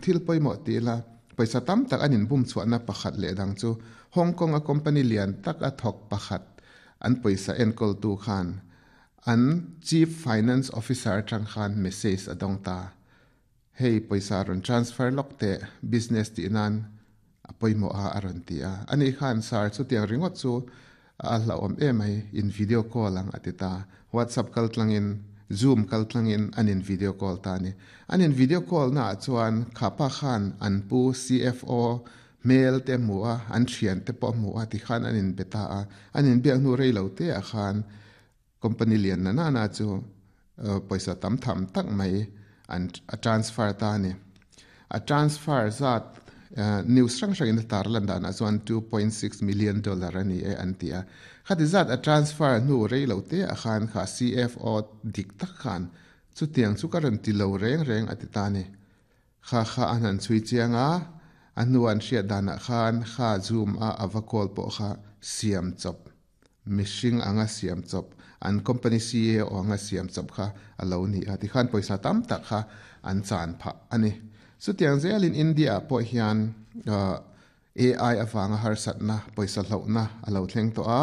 Thil pawimawh ti ila, pawisa tam tak an inbum chhuahna pakhat leh dang chu Hong Kong a company lian tak a thawk pakhat an pawisa enkawltu khan an Chief Finance Officer atang khan message a dawng ta. Hei pawisa rawn transfer lawk teh, business tih nan a pawimawh a a rawn ti a. Ani khan sir chutiang ringawt chu a hlauhawm em mai, in video call ang a ti ta. WhatsApp kal tlangin, Zoom kal tlangin an in video call ta a ni. An in video call naah chuan kha pa khan an pu CFO hmel te a hmu a, an thian te pawh a hmu a tikhan an in be ta a. An inbiak hnu rei lo te ah khan Company lian na nana chu pawisa tam tham tak mai an a transfer ta a ni. A transfer zat news hrang hrangin a tar lan danah chuan $2.6 million a ni e an ti a. Khati zat a transfer hnu rei lo te ah khan kha CFO dik tak khan chutiang chu ka rawn ti lo reng reng a ti ta a ni. Kha kha an han chhui chiang a, a hnu an hriat danah khan kha zoom a a va call pawh kha siam chawp Mihring anga siam chawp, an company CEO anga siam chawp kha a lo ni a, tikhan pawisa tam tak kha an chan phah a ni. Chutiang zelin India ah pawh hian AI avanga harsatna, pawisa hlauhna a lo thleng tawh a.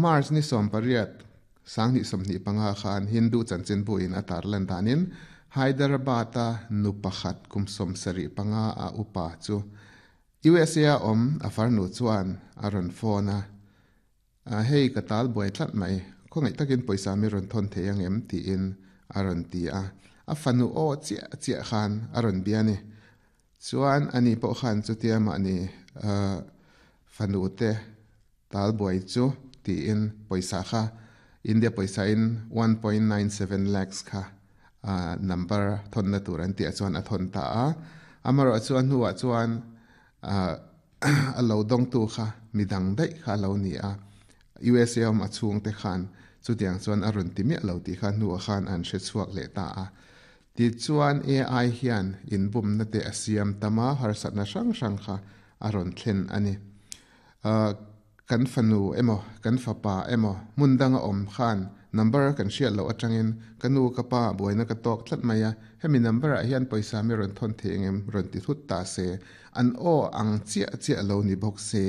March ni 18, 2025 khan Hindu chanchinbu in a tarlan danin Hyderabad-a nu pakhat kum 75 a upa chu USA a awm a farnu chuan a rawn phone a, Hei ka tal buai tlat mai, khawngaih takin pawisa mi rawn thawn thei ang em? tiin a rawn ti a. A fanu aw chiah chiah khan a rawn bia a ni. Chuan ani pawh khan chutia mahni fanu te tal buai chu tiin pawisa kha India pawisa in 1.97 lakhs kha number thawnna tur an tih ah chuan a thawn ta a. Amaherawh chu a hnuah chuan a lo dawngtu kha midang daih kha a lo ni a. USA awm a chhungte khan chutiang chuan a rawn ti miah lo tih kha hnuah khan an hre chhuak leh ta a. Tichuan AI hian inbumna te a siam tam a, harsatna hrang hrang kha a rawn thlen a ni. Kan fanu emaw, kan fapa emaw hmun danga awm khan number kan hriat loh atangin ka nu ka pa buaina ka tawk tlat mai a, hemi number ah hian pawisa mi rawn thawn thei engem rawn ti thut ta se, an aw ang chiah chiah lo ni bawk se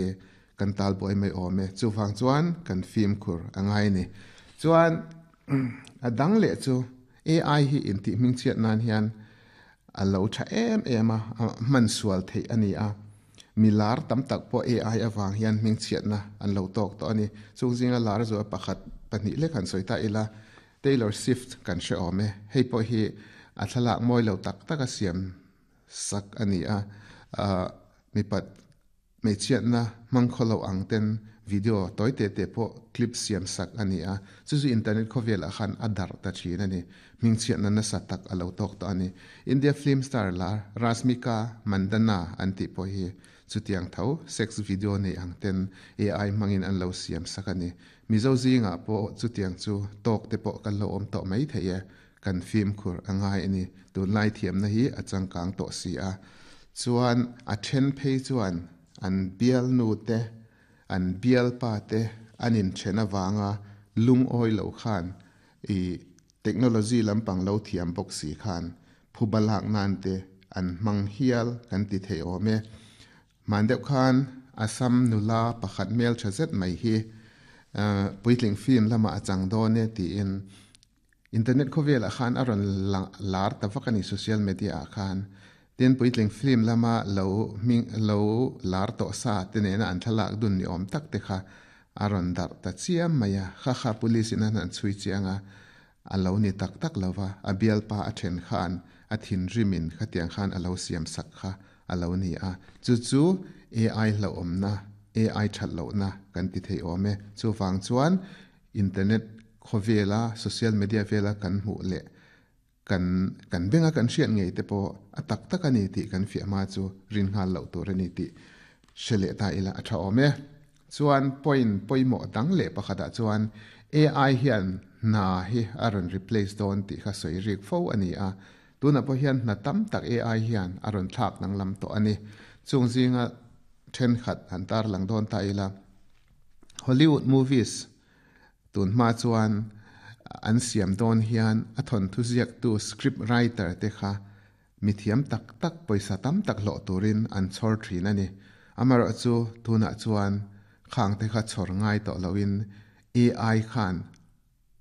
kan tal buai mai awm e, chuvang chuan kan fimkhur a ngai ni. Chuan a dang leh chu AI hi intih hmingchhiat nan hian a lo tha em em a, a hman sual theih a ni a. Mi lar tam tak pawh AI avang hian hmingchhiatna an lo tawk tawh a ni. Chung zinga lar zual pakhat, pahnih lek han sawi ta ila, Taylor Swift kan hre awm e. Hei pawh hi a thlalak mawi lo tak tak a siam sak a ni a, mipat Hmeichhiatna hmang khaw lo ang ten video tawi te te pawh clip siam sak a ni a, chu chu internet khawvelah khan a darh ta thin a ni. Hmingchhiatna nasa tak a lo tawk tawh a ni. India film star lar Rashmika Mandanna an tih pawh hi chutiang tho sex video nei ang ten AI hmangin an lo siam sak a ni. Mizo zingah pawh chutiang chu tawk te pawh kan lo awm tawh mai thei e. Kan fimkhur a ngai a ni. Tunlai thiamna hi a changkang tawh si a. Chuan a then phei chuan an bialnu te, an bialpa te an inthen avanga lungawi lo khan i technology lampang lo thiam bawk si khan phuba lak nan te an hmang hial kan ti thei awm e. Hman deuh khan Assam nula pakhat hmel tha zet mai hi puitling film lamah a chang dawn e tiin Internet khawvelah khan a rawn lar ta vak a ni social media ah khan. Tin puitling film lama lo hming lo lar tawh sa te nena an thlalak dun ni awm tak te kha a rawn darh ta chiam mai a. Kha kha police in an han chhui chiang a, a lo ni tak tak lo va, a bialpa a then khan a thinrim in khatiang khan a lo siam sak kha a lo ni a. Chu chu AI hlauhawmna, AI that lohna kan ti thei awm e. Chuvang chuan Internet khawvela social media vela kan hmuh leh kan kan benga kan hriat ngei te pawh a tak tak a ni tih kan fiah hma chu rin nghal loh tur a ni tih hre leh ta ila a tha awm e. Chuan point pawimawh dang leh pakhatah chuan AI hian hna hi a rawn replace dawn tih kha sawi rik fo a ni a, tunah pawh hian hna tam tak AI hian a rawn thlak danglam tawh a ni. Chung zinga thenkhat han tarlang dawn ta ila. Hollywood movies tun hma chuan an siam dawn hian a thawnthu ziaktu script writer te kha mithiam tak tak pawisa tam tak hlawh turin an chhawr thin a ni. Amaherawhchu tunah chuan khang te kha chhawr ngai tawh loin AI khan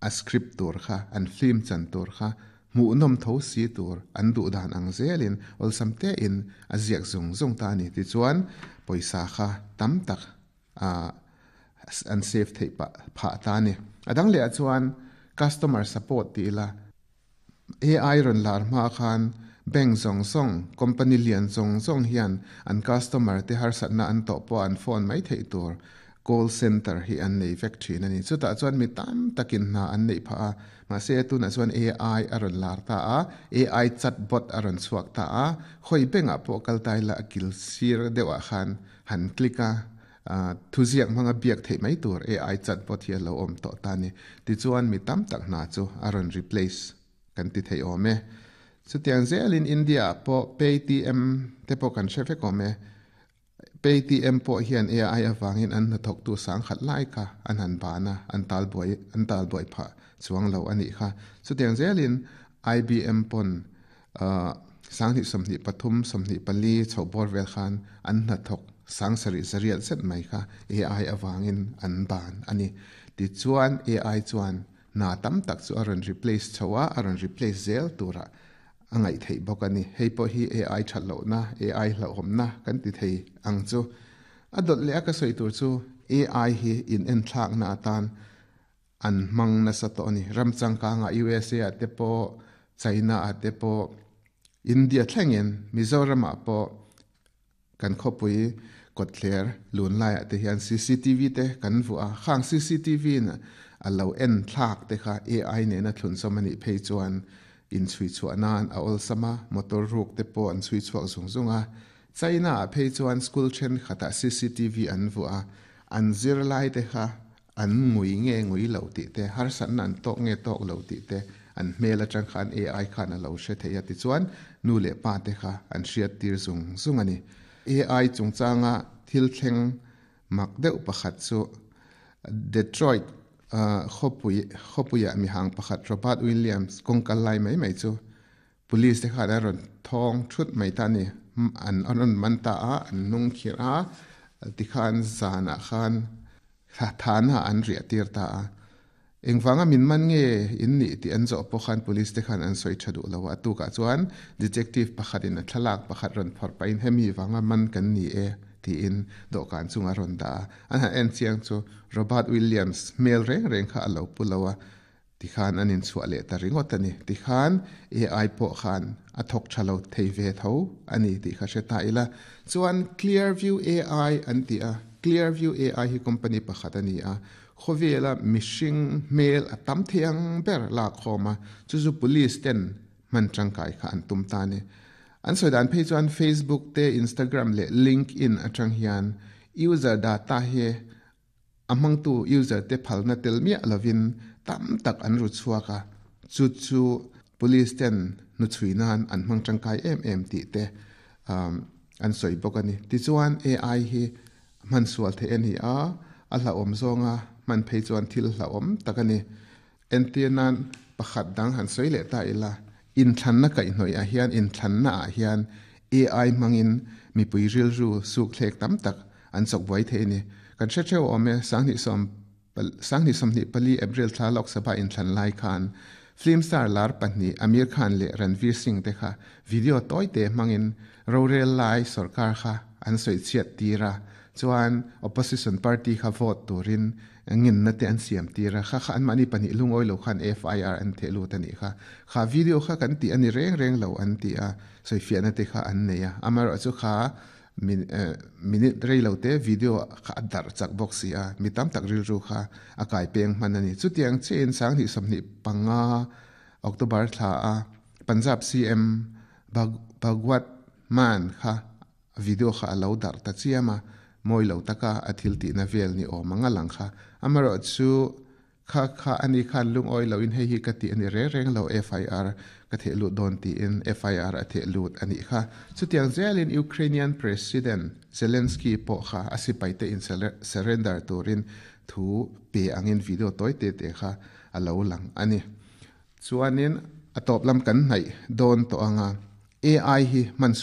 a script tur kha, an film chan tur kha hmuhnawm tho si tur an duh dan ang zelin awlsam tein a ziak zung zung ta a ni. Tichuan pawisa kha tam tak an save theih pah phah ta a ni. A dang leh ah chuan customer support tih ila AI rawn lar hma khan bank zawng zawng, company lian zawng zawng hian an customer te harsatna an tawh pawh an phone mai theih tur call center hi an nei vek thin a ni. Chutah chuan mi tam takin hna an neih phah a, mahse tunah chuan AI a rawn lar ta a, AI chatbot a rawn chhuak ta a, khawi bank ah pawh kal ta ila a kil sir deuh ah khan han click a, Thuziak hmanga biak theih mai tur AI chatbot hi a lo awm tawh ta ni. Tichuan mi tam tak hna chu a rawn replace kan ti thei awm e. Chutiang zelin India ah pawh Paytm te pawh kan hre vek awm e. Paytm pawh hian AI avangin an hnathawktu sangkhat lai kha an han ban a, an tal buai an tal buai phah chuang lo a nih kha. Chutiang zelin IBM pawn 2023, 24 chhoh bawr vel khan an hnathawk sangsarih zariat zet mai kha AI avangin an ban a ni. Tichuan AI chuan hna tam tak chu a rawn replace chho a, a rawn replace zel turah a ngaih theih bawk a ni. Hei pawh hi AI that lohna, AI hlauhawmna kan ti thei ang chu. A dawt leh a ka sawi tur chu AI hi inenthlakna atan An hmang nasa tawh a ni. Ram changkangah USA ah te pawh, China ah te pawh, India thlengin Mizoramah pawh kan khawpui kawtthler lun laiah te hian cctv te kan vuah a. Khang cctv in a lo en thlak te kha AI nena thlunzawm a nih phei chuan inchhui chhuah nan a awlsam a, motor ruk te pawh an chhui chhuak zung zung a. China ah phei chuan school thenkhatah cctv an vuah a, an zirlai te kha An ngui nge ngui lo tih te, harsatna an tawk nge tawk lo tih te an hmel atang khan AI khan a lo hre thei a tichuan nu leh pa te kha an hriat tir zung zung a ni. AI chungchanga thil thleng mak deuh pakhat chu Detroit khawpui khawpuiah mihang pakhat Robert Williams kawngkal lai mai mai chu Police te khan a rawn thawng thut mai ta a ni. An rawn man ta a, an hnung khirh a, tikhan zanah khan thana an riah tir ta a. Engvanga min man nge in nih tih an zawh pawh khan police te khan an sawi tha duh lo a. A tukah chuan detective pakhatin a thlalak pakhat rawn phawrh pahin hemi vanga man kan ni e tiin dawhkan chunga rawn dah a. An han en chiang chu Robert Williams hmel reng reng kha a lo pu lo a. Tikhan an inchhuah leh ta ringawt a ni. Tikhan AI pawh khan a thawk tha lo thei ve tho a ni tih kha hre ta ila. Chuan Clearview AI an ti a, Clearview AI hi company pakhat a ni a, khawvela mihring hmel a tam thei ang ber lak khawm a, chu chu police ten hman tangkai kha an tum ta a ni. An sawi dan phei chuan Facebook te, Instagram leh LinkedIn atang hian user data hi A hmangtu user te phalna tel miah lovin tam tak an ru chhuak a, chu chu police ten hnuchhui nan an hmang tangkai em em tih te an sawi bawk a ni. Tichuan AI hi hman sual theih a ni a, a hlauhawm zawnga hman phei chuan thil hlauhawm tak a ni. Entir nan pakhat dang han sawi leh ta ila, inthlanna kaihhnawih ah hian inthlanna ah hian AI hmangin mipui rilru suk thlek tam tak an chawk buai thei a ni. Kan hre theuh awm e, 2024 April thla Lok Sabha inthlan lai khan film star lar pahnih Aamir Khan leh Ranveer Singh te kha video tawi te hmangin rorel lai sorkar kha an sawi chhiat tir a, chuan opposition party kha vote turin Ngenna te an siam tir a, kha kha anmahni pahnih lungawi lo khan FIR an theh lut a nih kha. Kha video kha kan tih a ni reng reng lo an ti a, sawifiahna te kha an nei a. Amaherawhchu chu kha minute rei lo te video kha a darh chak bawk si a, mi tam tak rilru kha a kai peng hman a ni. Chutiang chiahin 2025 October thla a Punjab CM Bhagwat Mann kha Video kha a lo darh ta chiam a, mawi lo taka a thil tihna vel ni awm ang a lang kha. Amaherawh chu kha kha a ni khan lungawi loin hei hi ka tih a ni reng reng lo, FIR ka theh lut dawn tiin FIR a theh lut a nih kha. Chutiang zelin Ukrainian President Zelensky pawh kha a sipaite in surrender turin thu pe angin video tawi te te kha a lo lang a ni. Chuanin a tawp lam kan hnaih dawn tawh ang a. AI hi man sual.